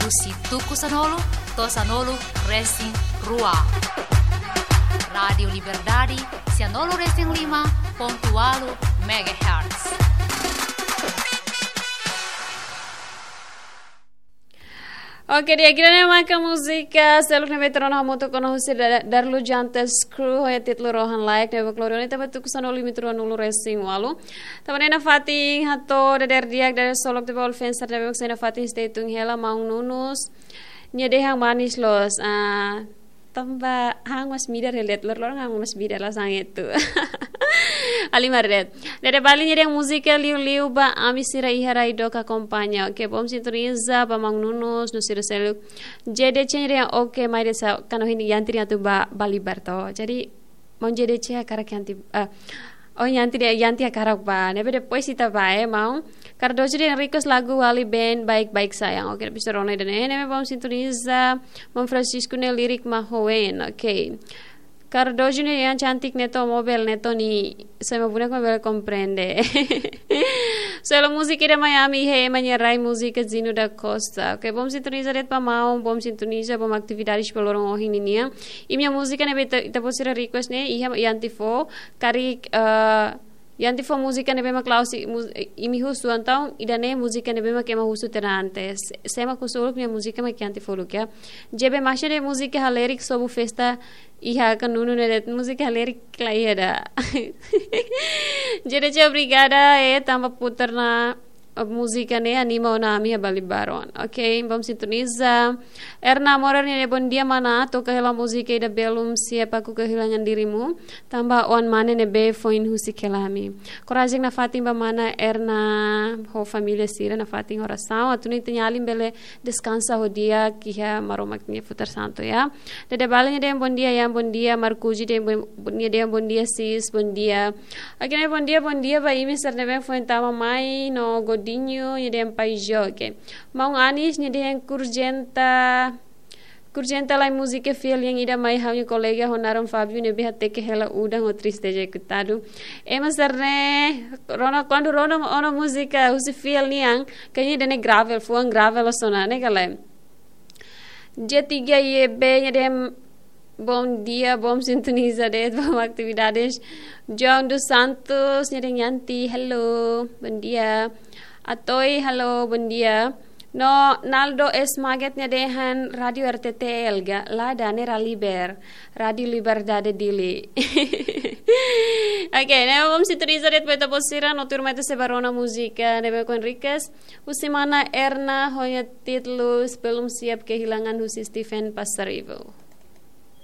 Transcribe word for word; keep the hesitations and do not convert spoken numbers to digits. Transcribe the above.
husi tuku sanulu to'o sanulu resin rua. Rádiu Liberdade, sianulu resin lima pontu ualu megahertz. Oke, di'ak, ida-ne'e maka múzika seluk ne'ebé tuur ona hamutuk ona husi Da-, Darlu Jantas Crew, ho títulu Rohan Layak, ne'ebé klorioni tanba tuku sanulu imi tuur ona nulu resin ualu. Tanba ne'e nafatin hato'o dadeer di'ak, dadeer solok tiha ba all fans sira ne'ebé mak sei nafatin stay tune hela, maun Nunus. Nia dehan manis loos, ah, tanba ha'u mós midar, relate lor-, loron ha'u mós midar la sang itu. Halimar de'it. Dede Bali nia dehan múzika liuliu ba ami sira iha rai dook akompaña. Oke, bom sintoniza ba maun Nunus, no sira seluk. J D C nia dehan oke, mai desa kano hini yanti atu ba Bali Barto. Jadi, maun J D C hakarak yanti, ah, oh, yanti dehan, yanti hakarak ba. Ne'ebé depois ita ba, eh, maun. Cardoso dehan request lagu Wali Band Baik-Baik Sayang. Oke, bisa rona ida-ne'e, ne'ebé bom sintoniza. Maun Francisco nia lirik mak hoen. Oke. Cardoso nia dehan cantik neto mobile neto ni sema bunak mobile komprende. Solo múzika ida mai ami, he, ema nia rai, múzika Zino da Costa. Oke, bom sintoniza de'it ba maun, bom sintoniza, bom atividades ba loron ohin ninian. Imi-nia múzika ne'ebé ita, ita-boot sira request ne'e, iha yanti fó, karik, eh, yanti fó múzika ne'ebé mak la'ós, mu-, imi husu, entaun ida-ne'e múzika ne'ebé mak ema husu tiha ona antes. Sema husu uluk nia múzika mak yanti fó uluk, ya. J B Masha nia múzika halerik sobu festa iha kanunu ne'e de'it, múzika halerik la iha ida. J D C obrigada, eh, tanba putar ona múzika ne'e anima ona ami iha Bali Baron. Oke, bom sintoniza. Erna Morar nia dehan bom dia mana, toka hela múzika ida Belum Siap Aku Kehilangan Dirimu. Tanba oan mane ne'ebé foin husik hela ami. Korajen nafatin ba mana Erna ho família sira, nafatin orasaun. Atu nune'e ita-nia alin bele deskansa ho di'ak iha Maromak nia futar santu, ya. Dede Bali nia dehan bom dia, ya, bom dia. Marcuji dehan bom, nia dehan bom dia, sis, bom dia. Oke, ne'e bom dia, bom dia ba imi sira ne'ebé foin tama mai, no Godinho nia dehan paz, oke. Maun Anis nia dehan kurjenta, kurjenta lai múzika fiel yang ida mai ha'u-nia kolega ho naran Fabio ne'ebé hateke hela udan ho triste ejekutadu. Ema sira-ne'e, rona, kuandu rona ona múzika husi fiel nian, kayaknya ida-ne'e gravel, fuan gravel loos ona, ne'e ka lae? J tiga Y B nia dehan bom dia, bom sintoniza de'it, bom atividades. João dos Santos nia dehan yanti, hello, bom dia. Atoi, hello, bom dia. No Naldo S Maget nia dehan Rádiu R T T L ga, la, ida-ne'e Raliber, Rádiu Liberdade Dili. Oke, ne'e bom sintoniza de'it ba ita-boot sira, no tuirmai ita sei ba rona múzika ne'ebé ohin request. Husi mana Erna, ho nia títulu Belum Siap Kehilangan husi Stephen Pasaribu.